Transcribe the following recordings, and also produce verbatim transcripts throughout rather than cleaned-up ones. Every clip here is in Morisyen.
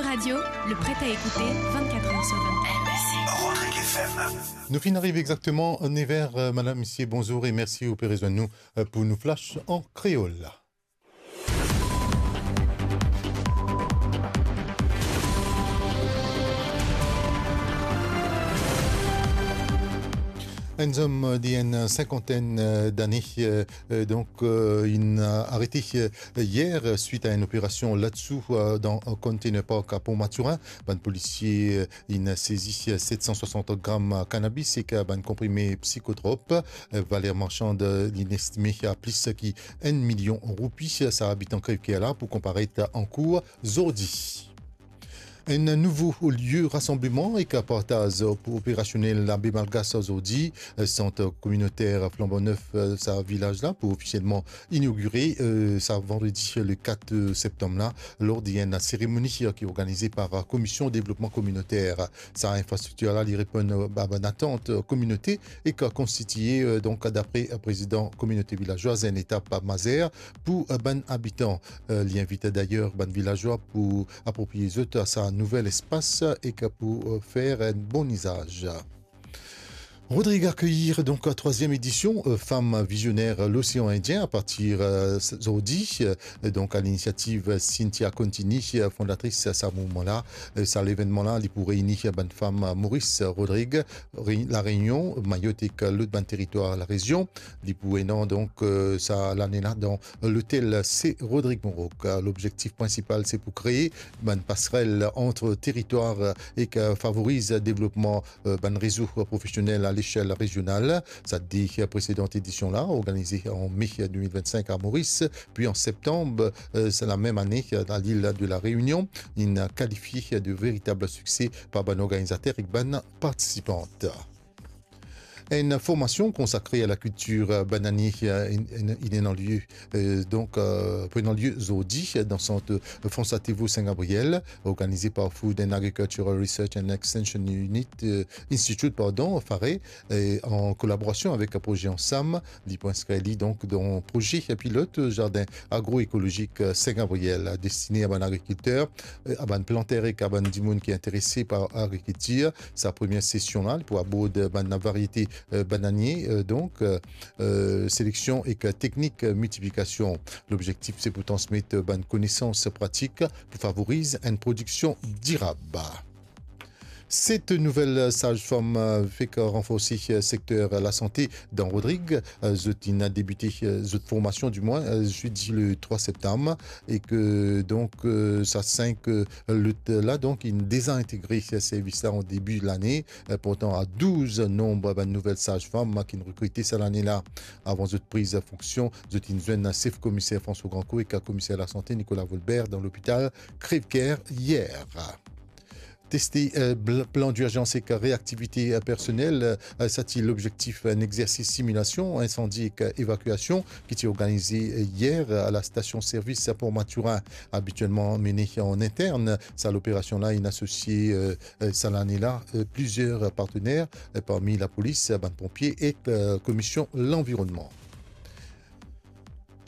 Radio, le prêt à écouter, vingt-quatre heures sur vingt-quatre. Nou finn arive exakteman nev er, euh, madam, misie, bonzour e mersi ou pe rezwenn nou, euh, pou nou flash an kreol. Enn zom, euh, de enn sinkantenn, euh, dane, euh, euh, donk, euh, inn, euh, arete, euh, yer, euh, swit a enn operasion ladsou, euh, dan, euh, Container Park a Port Mathurin. Bann polisie, euh, inn sezi, euh, set san swasant gram, euh, kanabis ek, euh, bann konprime psikotrop. Euh, valer marsan, euh, inn estime a plis ki enn milion roupi. Sa abitan Crèvecoeur la pou konparet ankour zordi. Enn nouvo lie rasanbleman ek partaz operasionel Labe Malgas zordi. Sant kominoter Flanbo Nef, sa vilaz la, pou ofisielman inogire, euh, sa vandredi le kat septanm la, lor de enn seremoni ki organize par Komision Devlopman Kominoter. Sa infrastriktir la, li reponn a bann atant kominote e ki konstitie, euh, donk, dapre prezidan kominote vilazwa, enn etap mazer pou, euh, bann abitan. Euh, li invit dayer bann vilazwa pou apropriye zot a sa nouvel espas e ki pou, euh, fer enn bon izaz. Rodrig akeyir, donk, trwaziem edision, euh, Femme Visionnaire l'Océan Indien a partir, euh, zordi, euh, donk, a linisiativ Cynthia Contini, euh, fondatris sa mouvman la. Euh, sa levennman la, li pou reyini bann fam Moris, Rodrig, Re-, La Reynion, Mayot ek lot bann teritwar larezion. Li pou ena, donk, euh, sa lane la dan lotel Se Rodrig Mon Rok. Lobzektif prinsipal, se pou kree bann pasrel ant teritwar e ki favoriz devlopman, euh, bann rezo profesionel a lechel rezional. Sa de presedan edision la, organize an me de mil vinn-sink a Moris, pi an septanm, euh, sa lamem ane, a lil de La Reynion, inn kalifie de veritab sikse par bann organizater ek bann partisipan. Enn formasion konsakre a lakiltir bananie, euh, inn, inn, inn ena lie, euh, donk, euh, pran lie zordi dan sant François Théveault Saint-Gabriel, organize par Food and Agricultural Research and Extension Unit, euh, Institute, pardon, FARE, e an kolaborasion avek proze Ansam. Li pou inskrir li, donk, dan proze pilot zardin agroekolozik, euh, Saint-Gabriel, destine a bann agrikilter, euh, a bann planter ek a bann dimoun ki interese par agrikiltir. Sa premie sesion la, li pou abord bann variete, euh, bananie, euh, donk, euh, euh, seleksion ek teknik miltiplikasion. Lobzektif, se pou transmet bann konesans pratik pou favoriz enn prodiksion dirab. Set nouvel saz-fam, euh, fek ranforse, euh, sekter lasante dan Rodrig. Euh, zot inn debite, euh, zot formasion, dimwin, euh, zedi le trwa septanm, e ki, donk, euh, sa sink, euh, lot la, donk, inn deza integre servis la an debi lane, euh, portan a douz nonb bann nouvel saz-fam ki inn rekrite sa lane la. Avan zot priz fonksion, zot inn zwenn sef komiser François Grandcourt ek komiser lasante Nicolas Volbert dan lopital Crèvecoeur yer. Teste, euh, bl-, plan dirzans ek reaktivite, euh, personel, euh, sa ti lobzektif, euh, enn exersis similasion insandi ek, euh, evakiasion ki ti organize, euh, yer a lastasion servis Port Mathurin, abitielman mene an intern. Sa loperasion la inn asosie, euh, euh, sa lane la, euh, plizier partener, euh, parmi lapolis, bann ponpie ek, euh, komision lanvironnman.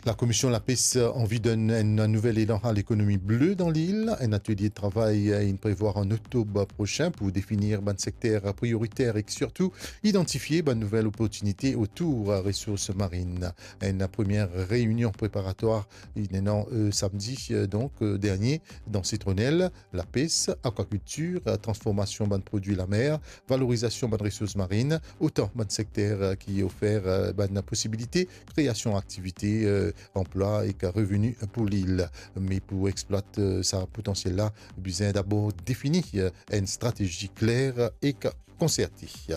Lakomision Lapes anvi donn enn nouvel elan a lekonomi ble dan lil. Enn atelie travay inn prevwar an oktob prosin pou definir bann sekter prioriter ek sirtou idantifie bann nouvel loportinite otour resours marinn. Enn premie reynion preparatwar inn ena, euh, samdi, euh, donk, euh, dernie dan Sitronel. Lapes, akwakiltir, transformasion bann prodwi lamer, valorizasion bann resours marinn, otan bann sekter, euh, ki ofer, euh, bann posibilite kreasion aktivite, euh, anplwa ek reveni pou lil. Me pou exploit, euh, sa potansiel la, bizin dabor defini, euh, enn stratezi kler ek konserte.